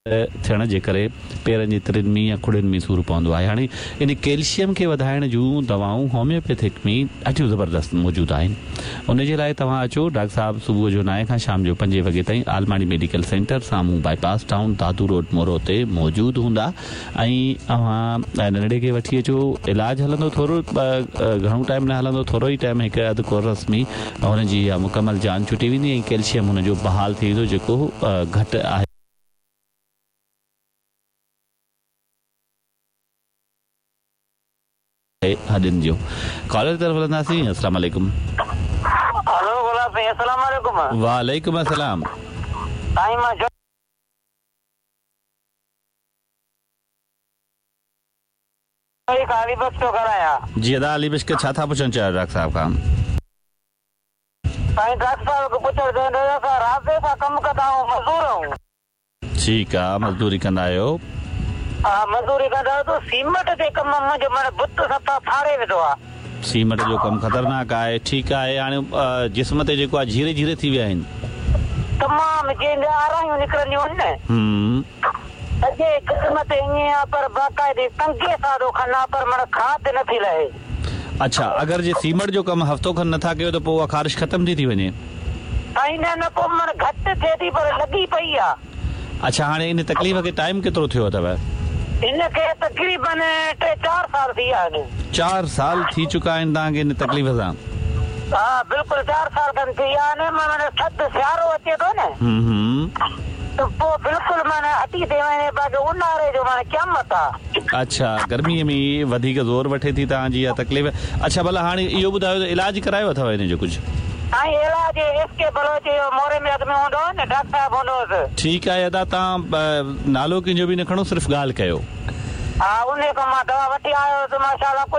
ٿيڻ جي ڪري پيرن جي ترين ۾ يا کڙين ۾ سور پوندو آهي. هاڻي ان ڪيلشيم کي وڌائڻ جون دوائون هوميوپيٿڪ ۾ ڏاڍيون زبردست موجود آهن. ان جي لاء توهان اچو ڊاڪٽر صاحب صبح جو نائين کان شام جو پنجين وڳي تائين عالماڻي ميڊيڪل سينٽر سامهون باء پاس ٽائون دادو روڊ مورو تي موجود هوندا ۽ اوهان ننڍڙي کي وٺي اچو علاج هلندو ٿورو گهڻو ٽائيم نه هلندو ٿورو ئي ٽائيم هڪ اڌ ڪورس ۾ هن جي اها مڪمل جان ڇٽي ويندي ۽ ڪيلشيم هن جو بحال ٿي ويندو جيڪو گهٽ آهي. هڏين جو ڪالر طرف هلنداسين السلام عليڪم. هلو گلاب سائين السلام عليڪم. وعليڪم السلام. سائين مان جوهي کان علي بخش ٿو ڳالهايان. جي ادا علي بخش ڇا ٿا پڇڻ چاهيو ڊاڪٽر صاحب کان. سائين ڊاڪٽر صاحب کي پڇڻ چاهيندو آهيان اسان رابطي سان ڪم ڪندا آهيون مزدور آهيون. ٺيڪ آ مزدوري ڪندا آهيو. ها مزدوري ڪندا آهيون ته سيمٽ جي ڪم منهنجو معنيٰ بت صفا ڦاڙي وڌو آ. سيمٽ جو ڪم خطرناڪ آهي. ٺيڪ آهي هاڻي جسم تي جيڪو آ جهيري جهيري ٿي ويا آهن. تمام جنهن جا آرايون نڪرنديون آهن نه. سڄي جسم تي ائين آ پر باقاعدي ڪنگي سان ٿو کنان پر معنيٰ کاڌ نه ٿي لهي. اڇا اگر جي سيمٽ جو ڪم هفتو کن نه ٿا ڪيو ته پوء اها خارش ختم ٿي ٿي وڃي. سائين نه نه پوء معنيٰ گهٽ ٿئي ٿي پر لڳي پئي آ. اڇا هاڻي ان تڪليف کي ٽائيم ڪيترو ٿيو اٿو؟ ان کي تقريبن ٽي چار سال ٿي ويا آهن. چار سال ٿي چڪا آهن توهان کي ان تڪليف سان. ها بلڪل چار سال کن ٿي ويا آهن معنيٰ ٿڌ سيارو اچي ٿو نه ته پوء بلڪل معنيٰ هٽي ٿي وڃي باقي اونهاري جو معنيٰ قيامت آ. اڇا گرمي ۾ وڌيڪ زور وٺي ٿي توهان جي اها تڪليف اڇا ڀلا هاڻي اهو ٻڌايو ته علاج ڪرايو اٿو ان جو ڪجهه. سائين علاج ايس ڪي بلوچ اهو موري ۾ اڳ ۾ هوندو هو نه ڊاڪٽر صاحب هوندو هوس. ٺيڪ آهي ادا توهان نالو ڪنهن جو به نه کڻو صرف ڳالهه ڪيو. ها انهي کان مان دوا وٺي آيو هوس ماشاءالله.